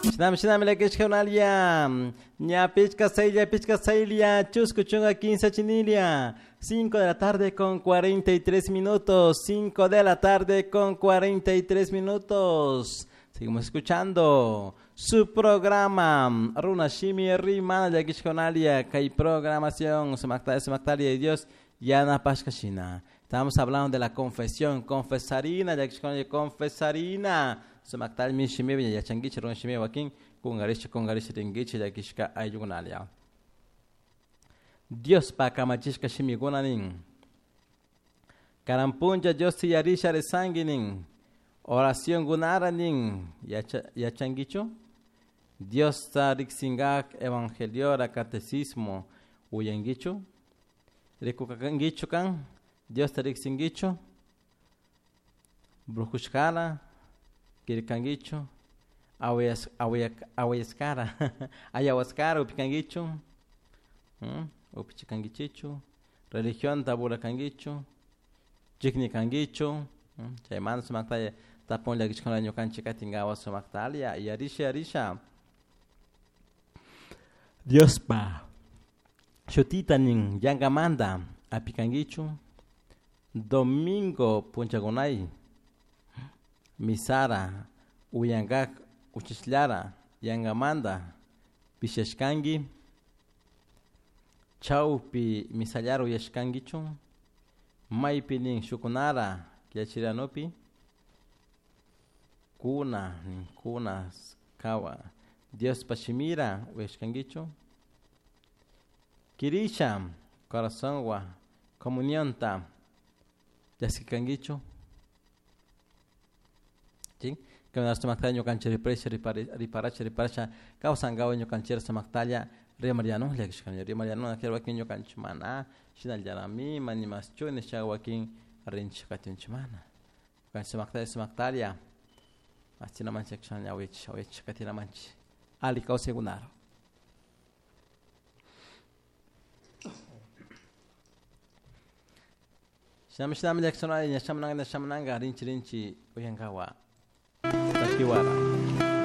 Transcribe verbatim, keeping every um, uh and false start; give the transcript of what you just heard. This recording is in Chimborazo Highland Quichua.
Shinami shinami llakishkakunalia ña pichka saylla pichka saylla chusku chunka quince chinilia cinco de la tarde con cuarenta y tres minutos, cinco de la tarde con cuarenta y tres minutos. Seguimos escuchando su programa Runa Shimi Rimana llakishkakunalia kay programación sumakta sumaktaria y Dios yana pashkashina. Estamos hablando de la confesión, confesarina, llakishkakunalia confesarina. Sumaktal mi shimi yachangichi runa shimi wakin kungarisha kungarisha ringichi llakishka ayllukunalia. Dios pa kamachishka shimikuna nin. Karampuncha Dios tiyarisha resangi nin. Oración gunara nin. Yacha, yachangichu? Dios ta riksingak evangeliora catecismo uyangichu? Rikukakangichu kan? Dios ta riksingichu? Brujushkala? Kirkangichu? Awayas, awayak, awayaskara. Ayahuascara upikangichu? Hmm? Upichikangichichu? Religión taburakangichu? Chiknikangichu? Hmm? Chaymanta sumaktaya tapun llakishkuna ñukanchik katinkawa sumaktalia yarisha yarisha Diospa shutita nin yankamanta apikankichu domingo punchakunay misara uyankak uchishlara yankamanta pishashkanki chawpi misallara uyashkankichu maypi nin shukunara killachiranupi kuna nin kuna kawa Diospa shimira uyashkankichu kirisha corazonwa comunionta chaskikankichu ¿sí? Kay sumaktalla ñukanchik riparasha riparasha riparasha kawsankawa ñukanchik sumaktalla rimariano llakishkani rimariano wakin ñukanchik mana shinallarami manimaschu nisha wakin rinchik katinchik mana ñukanchik sumaktalla sumaktalla achinamanchik awich awich katinamanchik ali kawsaykunara. Shinami shinami llakishkani ñashamananga ñashamananga rinchi rinchi uyankawa takiwara.